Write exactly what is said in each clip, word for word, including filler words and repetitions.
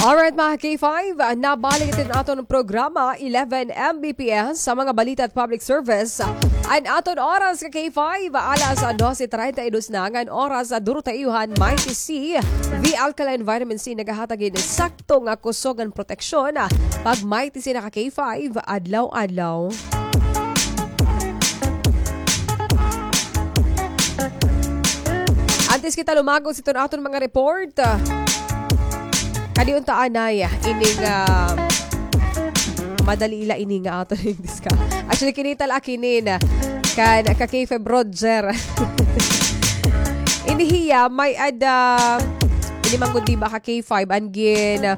Alright, mga K five, ah, nabalik iton aton programa, eleven M B P S, sa mga balita at public service. An aton oras, ka K five, alas dose treinta y dos na ngan oras. Ah, duro ta iyo han Mighty C, V Alkaline Vitamin C, nagahatag hin sakto nga kusog ngan proteksyon. Ah, pag Mighty C na, ka K five, adlaw-adlaw. Antes kita lumagot sa iton aton mga report, ah, kadi unta anay, ah, ining, ah, madali la ini nga aton discuss. Actually, kinita la ak hinin, ah, kan, ka K five Roger. Ini hiya, may-ada, ini man gud, di ba, ka K five, an gin,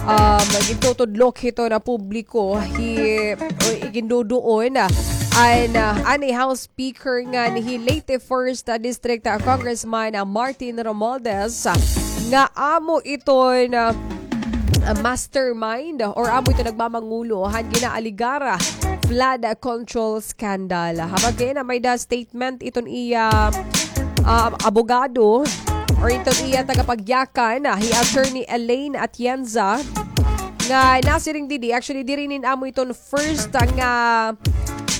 um, gintutudlok hiton publiko, hi, o, iginduduon, ah, an, ah, anay House Speaker ngan hi late first, ah, District, ah, Congressman, ah, Martin Romualdez, ah, nga amo iton, ah, ah, mastermind or amo iton nagmamangulo han ginaaligar, ah, flood, ah, control scandal. Habag kay na may-ada statement iton iya, ah, abogado or iton iya tagapagyakan, ah, hi Attorney Elaine Atienza, nga nasiring didi, actually, diri inin amo iton first, ah, nga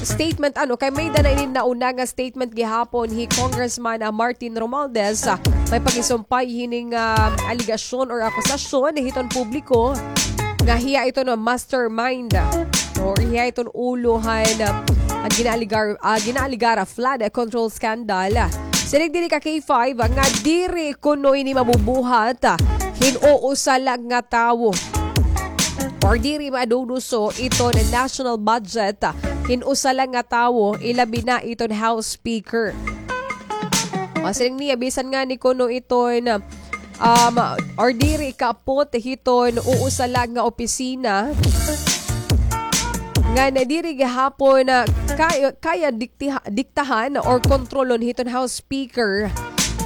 statement, ano, kay may-ada na inin nauna nga statement gihapon hi Congressman, ah, Martin Romualdez, ah, may pagisumpay hining, ah, alegasyon or akusasyon hiton publiko nga hiya iton mastermind, ah, or hiya iton ulo han, ah, an ginaaligar, ah, ginaaligar flood control scandal. Siring didi, ka K five, nga diri kuno ini mabubuhat, ah, hin usa la nga tawo or diri maduduso iton national budget, ah, hin usa la nga tawo, ilabi na iton House Speaker. Masiring niya, bisan ngani kuno iton, um, or diri kaapot hiton usa la nga opisina, nga na diri gihapon, ah, kaya, kaya diktiha-, diktahan or kontrolon hiton House Speaker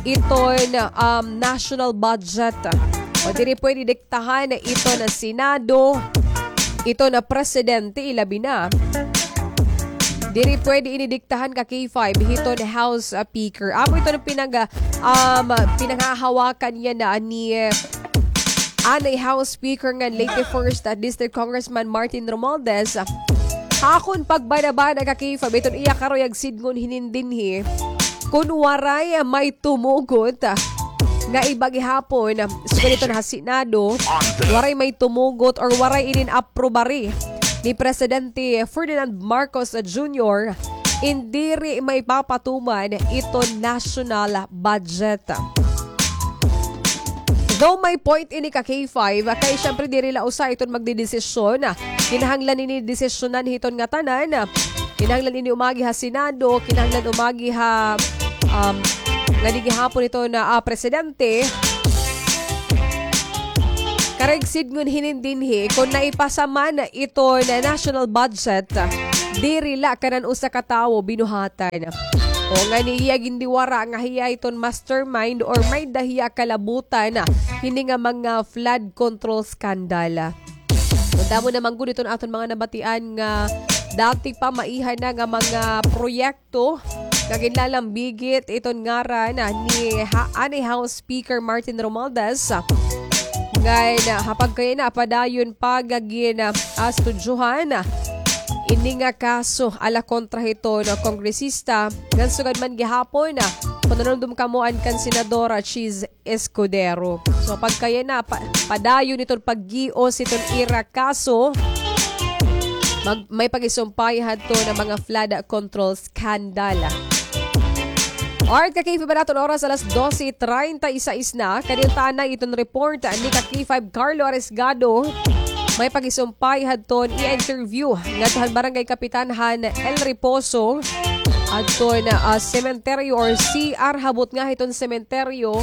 iton, um, national budget. O diri pwede diktahan iton Senado, iton Presidente, ilabi na. Diri pwede ini diktahan, ka K five, hiton House, ah, Speaker. Amo iton pinag-, um, pinanghahawakan yana ni, eh, anay House Speaker ngan late first, ah, District Congressman Martin Romualdez. Ha akon pagbanabana, ka K five, iton iya karuyag sidngon hinin dinhi, kon waray may tumugot, ah, nga iba gihapon, ah, sugad iton ha Senado, waray may tumugot or waray inin aprobari ni Presidente Ferdinand Marcos Junior, in diri maipapatuman iton national budget. Though may point ini, ka K five, kay syempre diri la usa iton magdedesisyon. Kinahanglan ini desisyonan hiton ngatanan. Kinahanglan ini umagi ha Senado, kinahanglan umagi ha, um, ngani gihapon iton, ah, Presidente. Karuyag sidngon hinin dinhi, kon naipasa man iton national budget, diri la kanan usa ka tawo binuhatan. O ngani hiya gindiwara nga hiya iton mastermind or may-ada hiya kalabutan hini nga mga flood control scandal. Kon damo na man gud iton aton mga nabatian nga dati pa maiha na nga mga proyekto nga ginlalambigit iton ngaran ni ha-, anay House Speaker Martin Romualdez. Ngan, ah, ha pagkayana, padayon pa nga gin, ah, astudyohan ini nga kaso ala kontra hiton kongresista. Ngan sugad man gihapon, ah, kon nanumdom kamo an kan Senadora Chiz Escudero. So, pagkayana, pa-, padayon iton paggios iton ira kaso. Mag-, may pagisumpay hadto nga mga flood control scandal. Alright, ka K five, an aton oras alas dose treinta y seis na. Kadi unta anay iton report ni ka K five Carlo Arisgado. May pagisumpay hadton iya interview ngadto han barangay kapitan han El Reposo. Hadton, ah, sementeryo or C R ha butnga hiton sementeryo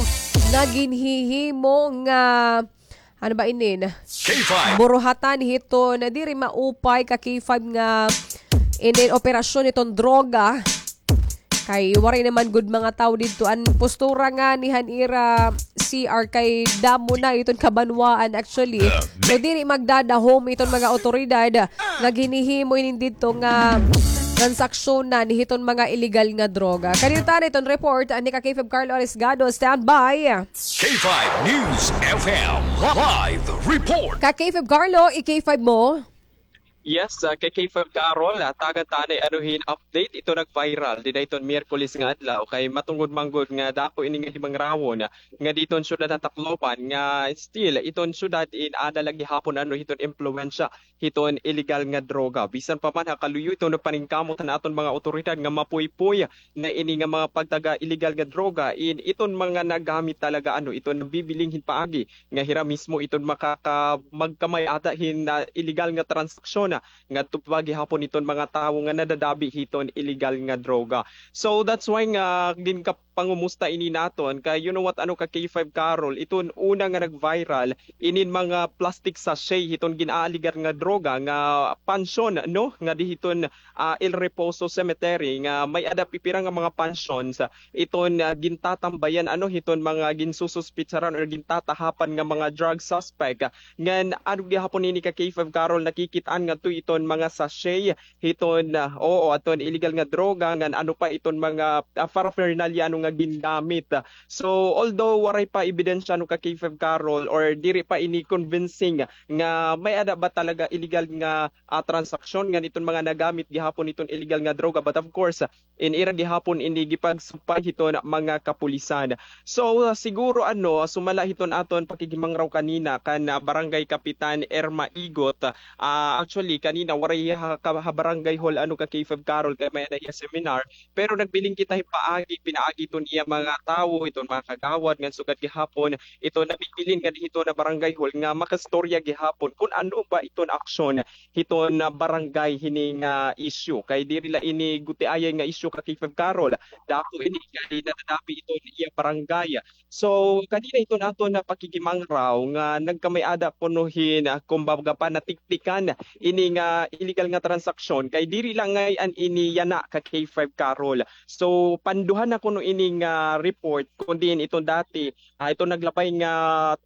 nga ginhihimo nga, ano ba inin? K five. Buruhatan hiton diri maupay, ka K five, nga inin operasyon hiton droga. Kay waray naman gud mga tawo didto. An postura ngani han ira C R kay damo na iton kabanwaan actually. So diri magdadahom iton mga awtoridad nga ginhihimo inin didto nga transaksyonan hiton mga illegal nga droga. Kanina tana iton report ni ka K five Carlo Arisgado. Standby. K five News F M live report. Ka K five Carlo, i K five mo. Yes, ah, kay K five Carol, ah, tagan ta anay ano hin update. Ito nag-viral dida hiton Miyerkules nga adlaw kay matungod man gud nga dako ini nga himangrawon, ah, nga diton syudad han Tacloban nga still iton syudad in aada la gihapon ano hiton impluwensya hiton illegal nga droga. Bisan pa man ha kaluyo iton paningkamot han aton mga awtoridad nga mapuypoy na ini nga mga pagtaga illegal nga droga in iton mga nagamit talaga ano iton nabibiling hin paagi nga hira mismo iton makaka-, magkamay-ada hin, ah, illegal nga transaksyon, ah, ngadto pa gihapon iton mga tawo nga nadadabi hiton illegal nga droga. So that's why nga ginkapangumusta ini naton kay you know what, ano ka K five Carol, iton una nga nag-viral inin mga plastic sachet hiton gin-aaligar nga droga nga pansyon, no, nga di hiton ah, El Reposo Cemetery nga may-ada pipira nga mga pansyon sa iton, ah, gintatambayan ano hiton mga ginsususpitsaran or gintatahapan nga mga drug suspect. Ngan ano gihapon ini ka K five Carol, nakikit-an ngadto iton mga sachet hiton, ah, oo, aton illegal nga droga ngan ano pa iton mga, ah, paraphernalia ano nga gingamit. So although waray pa ebidensya ano ka K five Carol or diri pa ini convincing nga may-ada ba talaga illegal nga ah, transaksyon ngan iton mga nagamit gihapon iton illegal nga droga. But of course, ah, in ira gihapon ini gipagsumpay hiton mga kapulisan. So, ah, siguro ano, ah, sumala hiton aton pakighimangraw kanina kan, ah, Barangay Kapitan Irma Igot. Ah, actually, kanina waray ha, ka, ha barangay hall ano ka K five Carol kay may-ada hiya seminar. Pero nagbiling kita hin paagi, pinaagi iton iya mga tawo, iton mga kagawad ngan sugad gihapon iton nabibilin nga di hiton na barangay hall nga makastorya gihapon kun ano ba iton aksyon hiton, ah, barangay hini nga issue. Kay diri la ini gutiayay nga issue ka K five Carol. Dako ini kay nadadapi iton iya barangay. So, kanina iton aton na pakikimangraw nga nagkamay-ada kuno hin, ah, kumbaga pa natiktikan ini nga illegal nga transaksyon. Kay diri la ngay-an ini yana ka K five Carol. So, panduha na kuno ini nga report kun diin iton dati ah, iton naglabay nga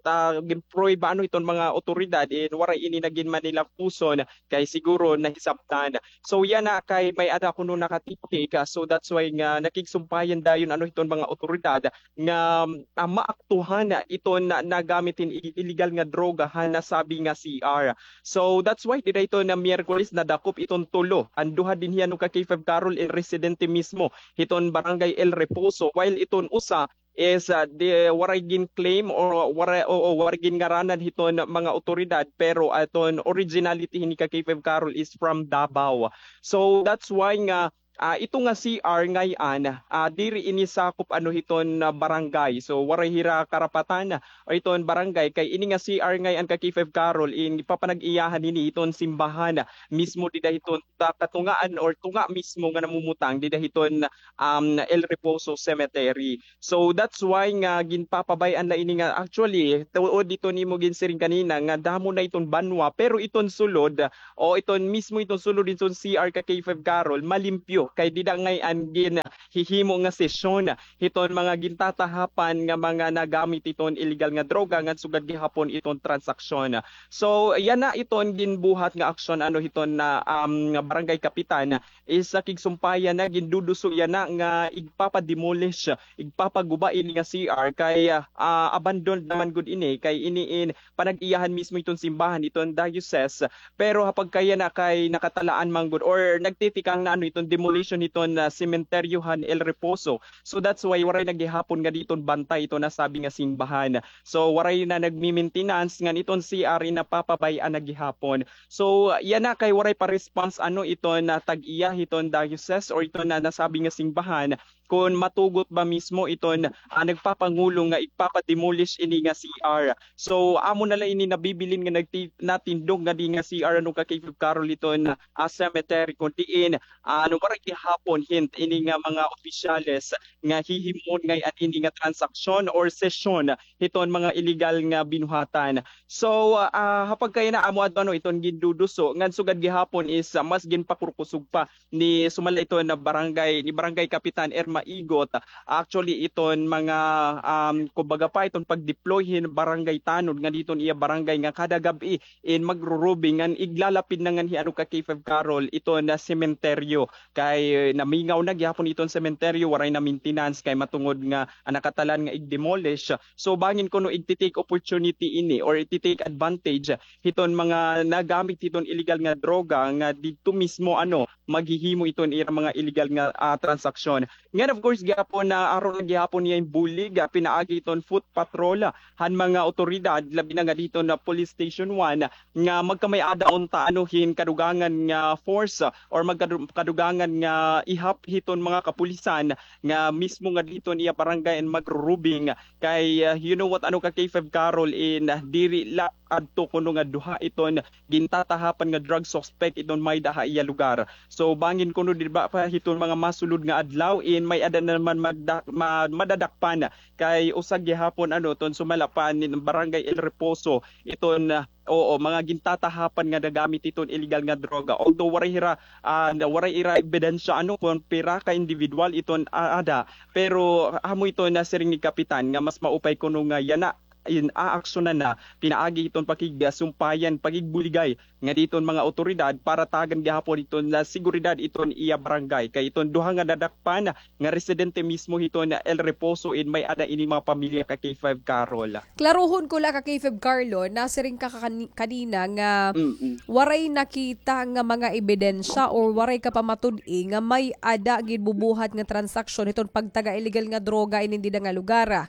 ta, ginpruweba ano iton mga awtoridad, eh, waray ini nagin Manila puson, kay siguro nahisabtan. So, yana kay may-ada kuno nakatiktik, ah, so that's why nga nakigsumpayan dayon ano hiton mga awtoridad nga, ah, maaktuhan iton na, nagamit hin i-, illegal nga droga han nasabi nga C R. So, that's why dida hiton na Miyerkules nadakop iton tulo. An duha dinhi ano ka K five Carol in residente mismo hiton Barangay El Reposo, while iton usa is, ah, di, waray gin-claim or waray, oo, waray ginngaranan hiton mga awtoridad, pero aton originality hini ka K five Carol is from Davao. So that's why nga, ah, ito nga C R ngay-an, ah, diri ini sakop ano hiton, ah, barangay. So waray hira karapatan o iton barangay kay ini nga C R ngay-an ka K five Carol in ipapanag-iyahan hini hiton simbahan mismo dida hiton ta-, katungaan or tunga mismo nga namumutang dida hiton, um, El Reposo Cemetery. So that's why nga ginpapabay-an la ini nga actually, tuod dito nimo ginsiring kanina nga damo na iton banwa, pero iton sulod o iton mismo iton sulod iton C R ka K five Carol, malimpyo kay dida ngay-an ginhihimo nga sesyon hiton mga gintatahapan nga mga nagamit iton illegal nga droga ngan sugad gihapon iton transaksyon. So yana iton ginbuhat nga aksyon ano hiton na, um, barangay kapitan is nakigsumpayan na, ginduduso yana nga igpapa-demolish, igpapaguba ini nga C R kay, ah, abandoned naman gud ini kay ini in panag-iyahan mismo iton simbahan iton diocese. Pero ha pagkayana kay nakatalaan man gud or nagtitikang na ano iton demolition iton, ah, sementeryo han El Reposo. So that's why waray na gihapon nga diton bantay iton nasabi nga simbahan. So waray na nagmi-maintenance ngan iton C R in napapabay-an na gihapon. So yana kay waray pa response ano iton na tag-iya hiton diocese or iton na nasabi nga simbahan kon matugot ba mismo iton, ah, nagpapangulo nga igpapa-demolish ini nga C R. So amo na la ini nabibilin nga nagti-, natindog nga di nga C R ano ka K five Carol iton, ah, cemetery kon diin, ah, ano, waray gihapon hint ini nga mga opisyales nga hihimuon ngay-an ini nga transaksyon or sesyon hiton mga illegal nga binuhatan. So, ah, ha pagkayana amo adto ano iton ginduduso ngan sugad gihapon is, ah, mas ginpakurkusog pa ni sumala iton na barangay, ni Barangay Kapitan Irma maigot. Actually, iton mga, um, kumbaga pa, iton pag-deploy hin barangay tanod nga diton iya barangay nga kada gab-i in magrurubing ngan iglalapid na nganhi ano ka K five Carol iton sementeryo. Kay namingaw na gihapon iton sementeryo, waray na maintenance kay matungod nga an nakatalan nga ig-demolish. So bangin kuno igti-take opportunity ini or igti-take advantage hiton mga nagamit hiton illegal nga droga nga didto mismo ano maghihimo iton ira mga illegal nga, ah, transaksyon. Ngan of course gihapon na aron gihapon niya bulig, ah, pinaagi iton foot patrol, ah, han mga otoridad labi na nga didto na Police Station one nga magkamay-ada unta ano hin kadugangan nga force, ah, or magkadu-, kadugangan nga ihap hiton mga kapulisan nga mismo nga didto niya barangay in magrurubing. Kay, ah, you know what, ano ka K five Carol in, ah, diri la adto kuno nga duha iton gintatahapan nga drug suspect iton may-ada ha iya lugar. So bangin kuno di ba pa hiton mga masulod nga adlaw in may-ada na naman magda-, ma-, madadakpan kay usa gihapon ano ton sumala pa nin Barangay El Reposo iton, ah, oo, mga gintatahapan nga nagamit iton illegal nga droga. Although waray hira, ah, waray ira ebidensya ano kon pira ka individual iton, ah, ada, pero amo iton nasiring ni Kapitan nga mas maupay kuno nga yana in aaksyonan na pinaagi hiton pakigsumpayan, pakigbuligay nga diton mga otoridad para tagan gihapon iton na seguridad iton iya barangay. Kay iton duha nga nadakpan nga residente mismo hiton El Reposo in may-ada ini mga pamilya ka K five Carol. Klaruhon ko la ka K five Carlo, nasiring ka kani-, kanina nga Mm-mm. waray nakita nga mga ebidensya or waray ka pamatud-i nga may-ada ginbubuhat nga transaksyon hiton pagtaga illegal nga droga inin dida nga lugar.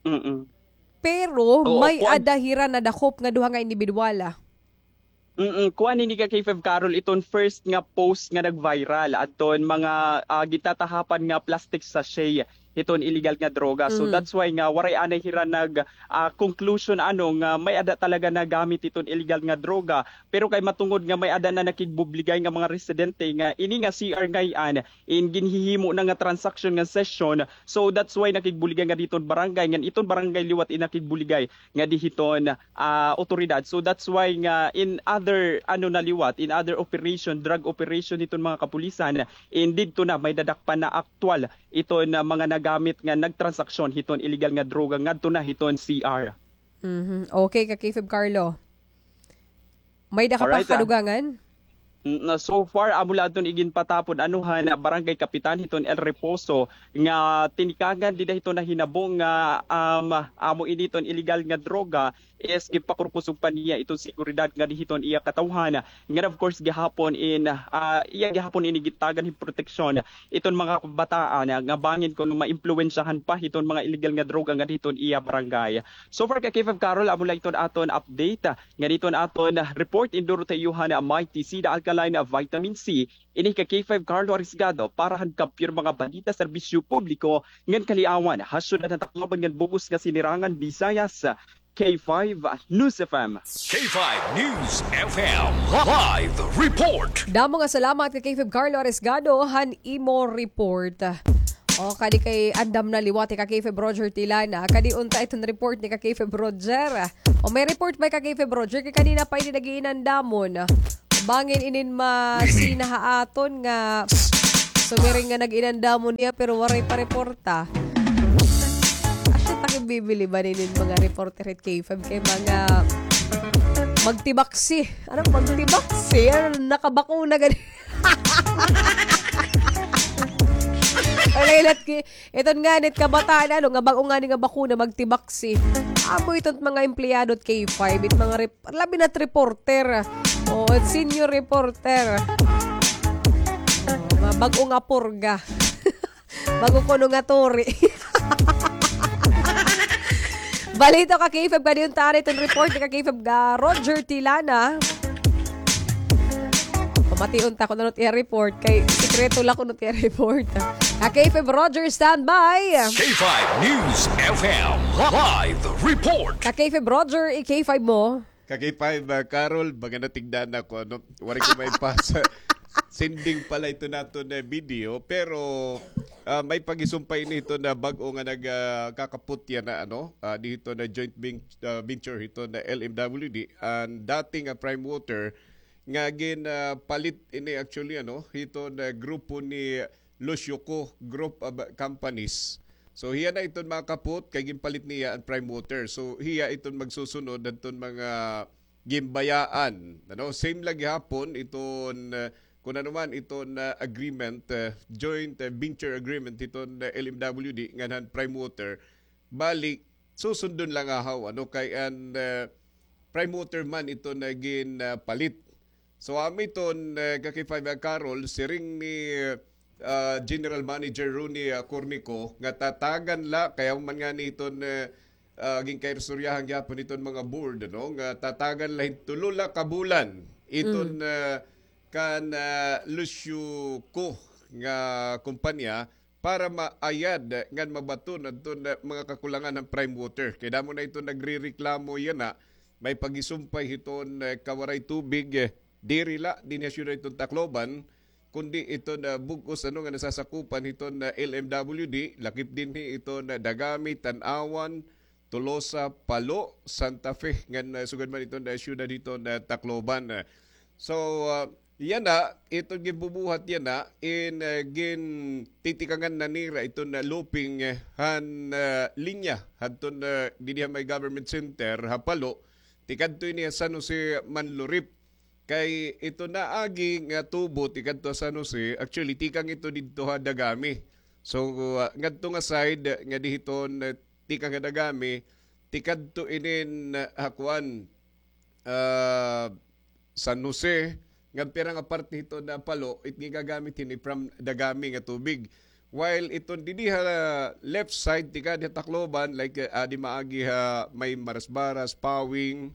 Mm-mm. Pero Oo, may kuan. ada hira nadakop nga duha nga indibidwal, ah. Mm, kuan ini ka K five Carol, iton first nga post nga nag-viral adton mga, ah, gitatahapan nga plastic sachet hiton illegal nga droga. So, Mm. that's why nga waray anay hira nag, ah, conclusion ano nga may-ada talaga nagamit hiton illegal nga droga. Pero kay matungod nga may-ada na nakigbubligay nga mga residente nga ini nga C R ngay-an in ginhihimo na nga transaction nga session. So that's why nakigbuligay nga diton barangay, ngan iton barangay liwat in nakigbuligay nga di hiton, ah, otoridad. So that's why nga in other, ano na liwat, in other operation, drug operation hiton mga kapulisan, in didto na may dadakpan na aktual iton, ah, mga nagamit nga nagtransaksyon hiton illegal nga droga ngadto na hiton C R. Mhm. Okay, ka K five Carlo. May da ka pa Alright, ah. kadugangan? Mm, na so far, amo la adton iginpatapon, ano, han Barangay Kapitan hiton El Reposo nga tinikangan dida hiton nahinabo nga, um, amo ini iton illegal nga droga is ginpakurkusog pa niya iton seguridad nga di hiton iya katawhan. Nga of course gihapon in, ah, iya gihapon ini gitagan hin proteksyon iton mga kabataan nga bangin kon maimpluwensyahan pa hiton mga illegal nga droga nga di hiton iya barangay. So far, ka K five Carol, amo la iton aton update. Ngan iton aton report in Doroteohan, may T C da Alkaline Vitamin C. Ini ka K five Carlo Arisgado para han Kampiyon Mga Balita, Serbisyo Publiko ngan Kaliawan ha Syudad han Tacloban ngan bug-os nga Sinirangan Visayas, K five News F M. K five News F M live report. Damo nga salamat ka K five Carlo Arisgado han imo report. O, kadi kay andam na liwat ka K five Roger Tilana. Kadi unta iton report ni ka K five Roger. O, may report ba ka K five Roger? Kay kanina pa ini nag-iinandamon. Bangin inin masina ha aton nga sumiring nga nag-inandamon niya pero waray pa reporta. Asya ta kay bibili ba ninin mga reporter hit K five kay mga magtibaksi. Ano magtibaksi? Ano, nakabakuna gani? Wala ilat ki-, iton nga nit kabataan, ano, nga bag-o nga ni nga bakuna, magtibaksi. Amo iton mga empleyado it K five, it mga rep-, labi na't reporter. O, it senior reporter. O, mga bag-o nga purga. Bag-o kuno nga turi. Balito ka K five, kadi unta ari iton report ni ka K five ga Roger Tilana. Pamation ta kuno it iya report kay sikreto la kuno it iya report. Ka K five Roger, standby. K five News F M live report. Ka K five Roger, i K five mo. Ka K five, ah, Carol, baga natigdan ako, ano, waray ko maipasa. Sending pala ito naton na video, pero, ah, may pagisumpay nito na bag-o nga nag, ah, kakaputya na, ano, ah, dito na joint vin-, ah, venture hito na L M W D, ang dating, ah, Prime Water, nga gin, ah, palit ini actually, ano, hito na grupo ni Lucio Co Group of Companies. So, hiya na iton, mga kapot, kay ginpalit niya an Prime Water. So, hiya iton magsusunod hadton mga ginbayaan. Ano, same la gihapon iton, uh, kun ano man iton, uh, agreement, uh, joint, uh, venture agreement iton, uh, L M W D ngan han Prime Water. Bali, susundon la ngahaw, ano, kay an, uh, Prime Water man iton, uh, ginpalit. So, amo iton, uh, ka K five, uh, Carol, siring ni, uh, General Manager Ronnie, uh, Cornico, nga tatagan la, kay amo man ngani iton, uh, uh, ginkairstoryahan gihapon iton mga board, ano, nga tatagan la hin tulo la ka bulan iton, uh, kan, uh, Lucio Co nga kumpanya para maayad ngan mabaton adton, uh, mga kakulangan han Prime Water. Kay damo na iton nagrereklamo yana, may pagisumpay hiton, uh, kawaray tubig, uh, diri la dinhi ha syudad hiton Tacloban, kundi iton, uh, bug-os, ano, nga nasasakupan hiton, uh, L M W D, lakip dinhi iton, uh, Dagami, Tanauan, Tolosa, Palo, Santa Fe, ngan, uh, sugad man iton, uh, syudad hiton, uh, Tacloban. So, uh, yana, iton ginbubuhat yana, in, uh, gintitikangan na nira iton, uh, looping, uh, han, uh, linya hadton, uh, didi ha may government center ha Palo, tikadto ini ha San Jose, Manlurip. Kay ito naagi nga tubo tikadto ha San Jose, actually, tikang ito didto ha Dagami. So, uh, ngadto nga side nga dihiton, uh, tikang ha Dagami, tikadto inin, uh, ha kuan, uh, San Jose, ngan pira nga parte hiton ha Palo, it gigagamit hini from Dagami nga tubig. While iton didi ha left side, tikang ha Tacloban, like, uh, adi maagi ha may Marasbaras, Pawing,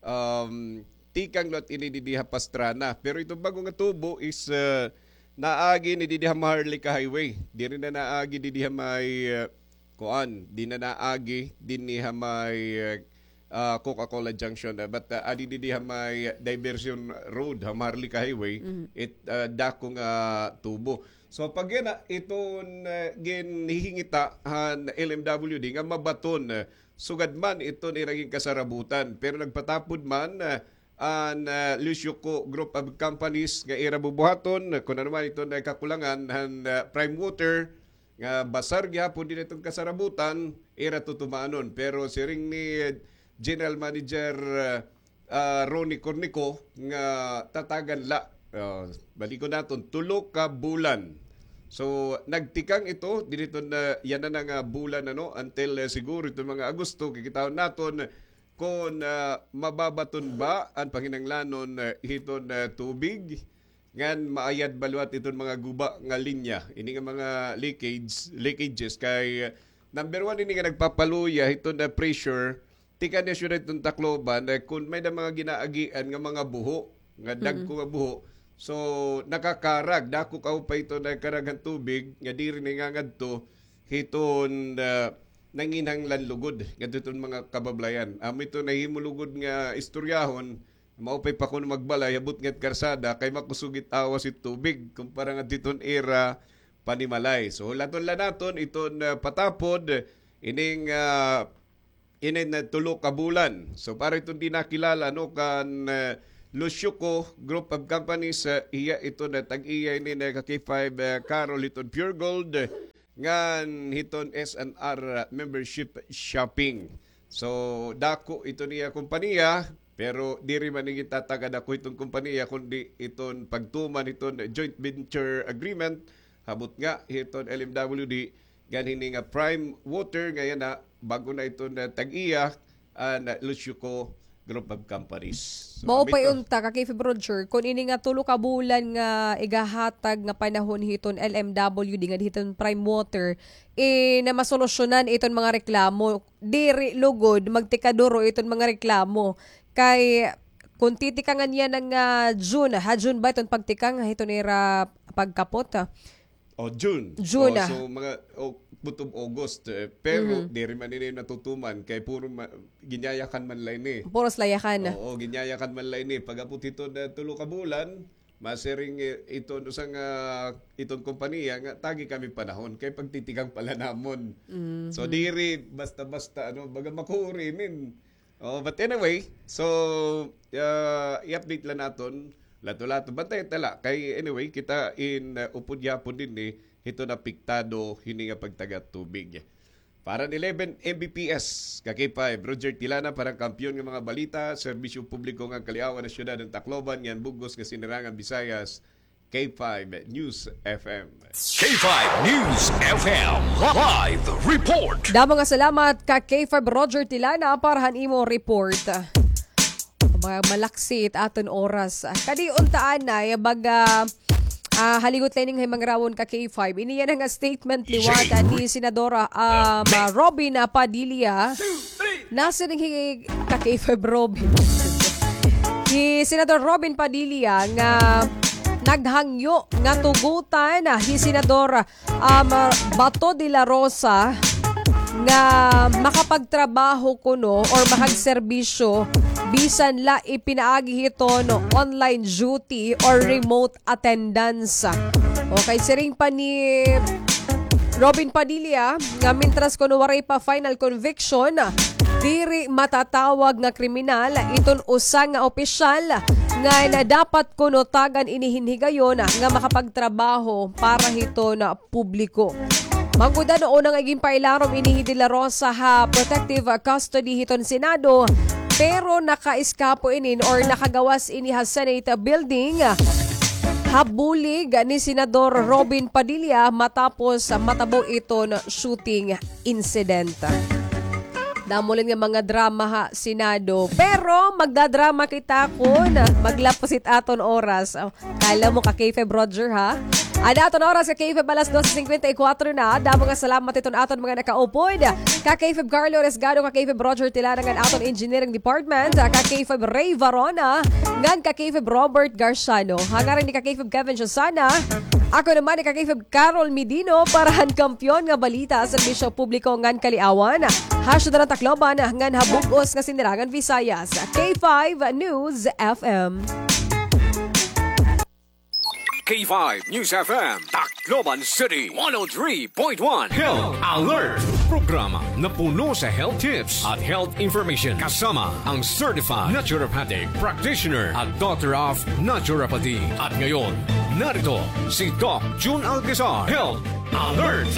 um, tikang liwat ini didi ha Pastrana. Pero iton bag-o nga tubo is, uh, naagi ini didi ha Maharlika Highway. Diri na naagi didi ha may, uh, kuan, di na naagi dinhi ha may, uh, uh, Coca-Cola Junction. Uh, but, uh, adi didi ha may Diversion Road ha Maharlika Highway, it, uh, dako nga tubo. So, pag yana, iton, uh, ginhihingita han L M W D nga mabaton, uh, sugad man iton ira ginkasarabutan. Pero nagpatapod man, uh, an, uh, Lucio Co Group of Companies nga ira bubuhaton, uh, kun ano man iton, uh, kakulangan han, uh, Prime Water, nga basar gihapon dinhi iton kasarabutan, ira tutumanon. Pero siring ni General Manager, uh, uh, Ronnie Cornico nga tatagan la, uh, balikon naton, tulo ka bulan. So, nagtikang ito, dinhi iton, uh, yana na nga bulan, ano, until, uh, siguro iton mga Agosto, kikitaon naton kon, ah, mababaton ba an panginahanglanon, ah, hiton, ah, tubig ngan maayad ba liwat iton mga guba nga linya, ini nga mga leakage, leakages kay, ah, number one ini nga nagpapaluya hiton, ah, pressure tikang ha syudad hiton Tacloban, ah, kon may-ada mga ginaagian nga mga buho, nga dagko nga buho. So, nakakarag, dako kaupay iton, ah, karag han tubig nga diri na ngangadto hiton, ah, nanginahanglan lugod ngadto hiton mga kabablayan. Amo ito nahimo lugod nga istoryahon, maupay pa kuno magbalay ha butnga hit karsada kay makusog it awas hit tubig kumpara ngadto hiton ira panimalay. So, hulaton la naton iton, ah, patapod ining, ah, inin, ah, tulo ka bulan. So, para iton di nakilala, no, kan, ah, Lucio Co Group of Companies, ah, iya iton, ah, tag-iya ini nga ka K five, ah, Carol hiton Pure Gold, ngan hiton S and R membership shopping. So, dako iton iya kompanya, pero diri man ini tatagad ako hiton kompanya, kundi iton pagtuman hiton joint venture agreement, ha butnga hiton L M W D, ngan hini nga Prime Water, nga yana, bag-o na iton tag-iya, an Lucio Co Group of Companies. So, mao pa unta, ka K five Roger, kon ini nga tulo ka bulan nga igahatag nga panahon hiton L M W D ngan hiton Prime Water, eh, na masolusyonan iton mga reklamo. Diri lugod, magtikaduro iton mga reklamo. Kay, kon titikangan yana nga June, ha June ba iton pagtikang hiton ira pagkapot, ha? O, June. June, ah. So, mga, o, butong August, eh, pero diri man ini natutuman kay puro ma-, ginyayakan man la ini. Puros layakan. Oo, ginyayakan man la ini. Pag-abot hiton, eh, tulo ka bulan, masiring, eh, iton usa nga, iton kompanya nga tagi kami panahon kay pagtitikang pa la namon. So, diri basta-basta, ano, baga makuri inin. Oh, but anyway, so, ah, i-update la naton. Lato-lato. Bantay ta la. Kay anyway, kita in, ah, upod gihapon dinhi, eh, hiton apektado hini nga pagtaga tubig. Para han eleven M B P S, ka K five, Roger Tilana, para han kampiyon nga mga balita, serbisyo publiko ngan kaliawan han syudad han Tacloban, ngan bug-os nga sinirangan Visayas, K five News F M. K five News F M live report. Damo nga salamat ka K five Roger Tilana para han imo report. Mga malaksit aton oras. Kadi unta anay, baga, ah, haligot la ini nga himangrawon ka K five. Ini yana nga statement liwat ni Senador, ah, Robin, ah, Padilla. Nasiring hi ka K five Robin. Hi Senador Robin Padilla nga naghangyo nga tugutan, ah, hi Senador, um, Bato de la Rosa nga makapagtrabaho kuno or makagserbisyo bisan la ipinaagi hiton online duty or remote attendance. Okay, siring pa ni Robin Padilla nga mintras kuno waray pa final conviction, diri matatawag nga kriminal iton usa nga opisyal nga dapat kuno tagan ini hin higayon nga makapagtrabaho para hiton publiko. Manggod ano, una nga ginpailarom ini hi De La Rosa ha protective custody hiton Senado, pero naka-eskapo inin or nakagawas ini ha Senate building ha bulig ni Senador Robin Padilla matapos matabo iton shooting incident. Damo la nga mga drama ha Senado. Pero magdadrama kita kon maglapos it aton oras. Oh, kala mo ka K five Roger, ha? An aton oras ka K five alas dose singkwenta y kwatro na. Damo nga salamat iton aton mga nakaupod. Ka K five Carlo Resgado, ka K five Roger Tilana ngan aton engineering department. Ka K five Ray Varona, ngan ka K five Robert Garciano. Ha ngaran ni ka K five Kevin Josana. Ako naman ni ka K five Carol Medino para han kampiyon nga balita, serbisyo publiko ngan kaliawan ha syudad han Tacloban ngan ha bug-os nga sinirangan Visayas. K five News F M. K five News F M, Tacloban City, one oh three point one. Health Alert, programa na puno sa health tips at health information, kasama ang certified naturopathic practitioner at doctor of naturopathy. At ngayon, narito si Doc Jun Alcazar. Health Alert!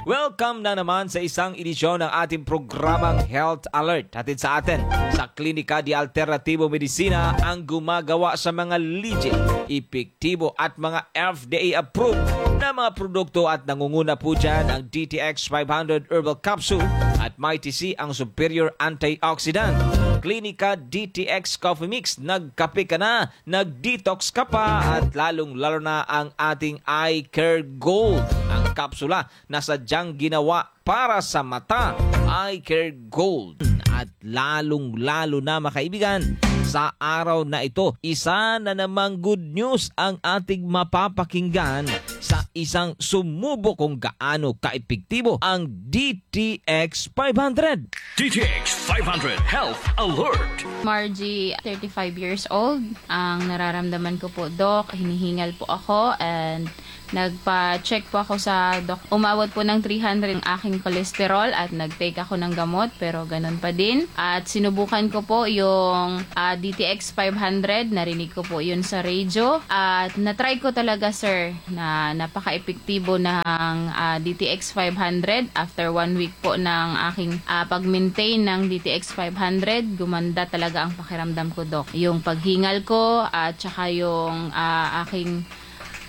Welcome na naman sa isang edisyon ng ating programang Health Alert. Hatid sa atin sa Klinika de Alternativo Medicina ang gumagawa sa mga legit, epektibo at mga F D A approved na mga produkto at nangunguna po dyan ang D T X five hundred Herbal Capsule at Mighty C ang superior antioxidant. Klinika D T X Coffee Mix, nagkape ka na, nag-detox ka pa, at lalong-lalo na ang ating Eye Care Gold, ang kapsula na sadyang ginawa para sa mata, Eye Care Gold. At lalong-lalo na, mga kaibigan, sa araw na ito, isa na namang good news ang ating mapapakinggan sa isang sumubo kung gaano kaepektibo ang D T X five hundred. D T X five hundred Health Alert. Margie, thirty-five years old. Ang nararamdaman ko po, Doc, hinihingal po ako and nagpa-check po ako sa doc. Umabot po ng three hundred ang aking cholesterol at nag-take ako ng gamot, pero ganun pa din. At sinubukan ko po yung, ah, D T X five hundred. Narinig ko po yun sa radio. At na-try ko talaga, sir, na napaka-epektibo ng, ah, D T X five hundred. After one week po ng aking, ah, pag-maintain ng D T X five hundred, gumanda talaga ang pakiramdam ko, Doc. Yung paghingal ko at saka yung, ah, aking,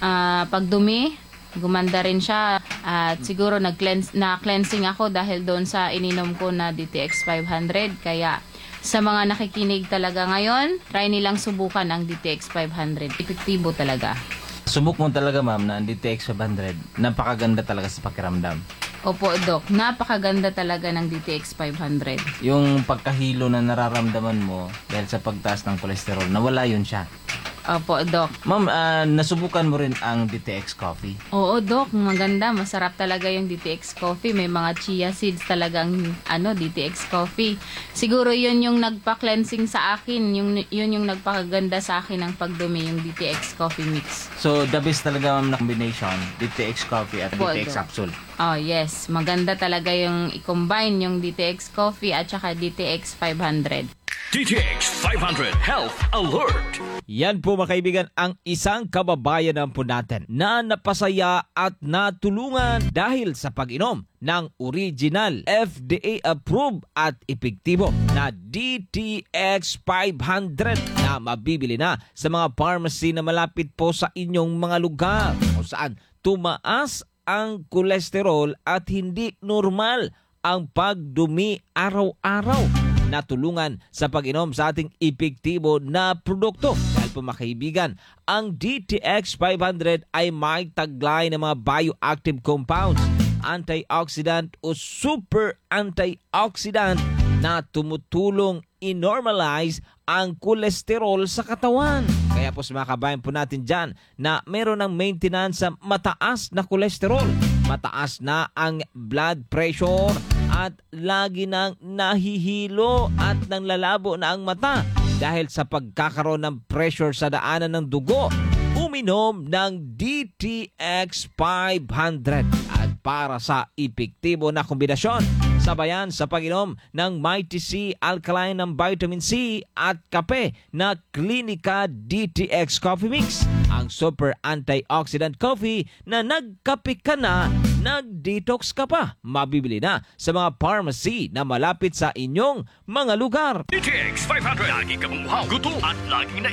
ah, pagdumi, gumanda rin siya. At siguro nag-cleanse, na-cleansing ako dahil doon sa ininom ko na D T X five hundred. Kaya sa mga nakikinig talaga ngayon, try nilang subukan ang D T X five hundred. Epektibo talaga. Subok mo talaga, ma'am, na ang D T X five hundred, napakaganda talaga sa pakiramdam. Opo, Doc. Napakaganda talaga ng D T X five hundred. Yung pagkahilo na nararamdaman mo dahil sa pagtaas ng kolesterol, nawala yun siya. Opo, Doc. Ma'am, ah, nasubukan mo rin ang D T X Coffee? Oo, Doc. Maganda. Masarap talaga yung D T X Coffee. May mga chia seeds talagang, ano, D T X Coffee. Siguro yun yung nagpa-cleansing sa akin. Yung, yun yung nagpakaganda sa akin ng pagdumi, yung D T X Coffee Mix. So, the best talaga, ma'am, na combination, D T X Coffee at Opo, D T X Doc. Capsule. Oh, yes. Maganda talaga yung i-combine yung D T X Coffee at saka D T X five hundred. D T X five hundred Health Alert. Yan po, mga kaibigan, ang isang kababayan naman po natin na napasaya at natulungan dahil sa pag-inom ng original, F D A approved at epektibo na D T X five hundred na mabibili na sa mga pharmacy na malapit po sa inyong mga lugar, kung saan tumaas ang kolesterol at hindi normal ang pagdumi araw-araw. Natulungan sa pag-inom sa ating epektibo na produkto. Dahil po, mga kaibigan, ang D T X five hundred ay may taglay ng mga bioactive compounds, antioxidant o super antioxidant na tumutulong i-normalize ang kolesterol sa katawan. Kaya po, sa mga kabayan po natin dyan na meron ng maintenance sa mataas na kolesterol, mataas na ang blood pressure, at lagi nang nahihilo at nang lalabo na ang mata dahil sa pagkakaroon ng pressure sa daanan ng dugo, uminom ng D T X five hundred. At para sa epektibo na kombinasyon, sabayan sa pag-inom ng Mighty C Alkaline ng vitamin C at kape na Clinica D T X Coffee Mix, ang super antioxidant coffee na nagkape ka na, nag-detox ka pa. Mabibili na sa mga pharmacy na malapit sa inyong mga lugar. D T X five hundred. Lagi ka mong uhaw, gutom, at lagi na